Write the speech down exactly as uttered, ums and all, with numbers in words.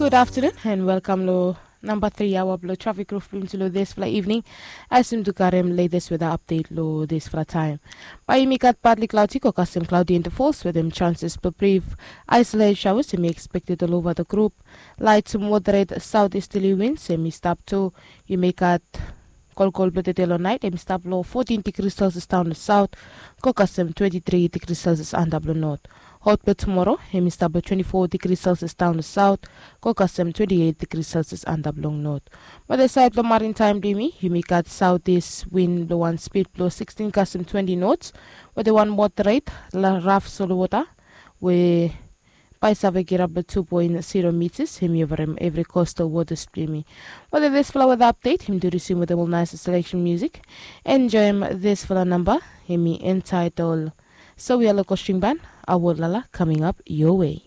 Good afternoon and welcome lo number three hour blo traffic roof blo dispela evening. As yumi tu karem latest weather update lo dispela time. Bai yumi gat partly cloudy ko custom cloudy intervals with them chances for brief isolated showers yumi expected all over the group. Light to moderate southeasterly winds yumi stop to yumi gat kolkol blo tete lo night yumi stop lo fourteen degrees Celsius down to south. Ko custom twenty-three degrees Celsius under blo north. Hot blo tomorrow yumi stop lo twenty-four degrees Celsius down to south. Ko custom twenty-eight degrees Celsius under blo north. But the side blo maritime blo yumi yumi gat southeast wind blo one speed blo sixteen custom twenty knots. With the one moderate la rough solo water we bai save kirap lo two point zero meters him yovarim evri coastal waters blo yumi. Whether this flower update him tu resume with the nice selection music. Enjoy him this flower number him entitled So we are local string band. Our lala coming up your way.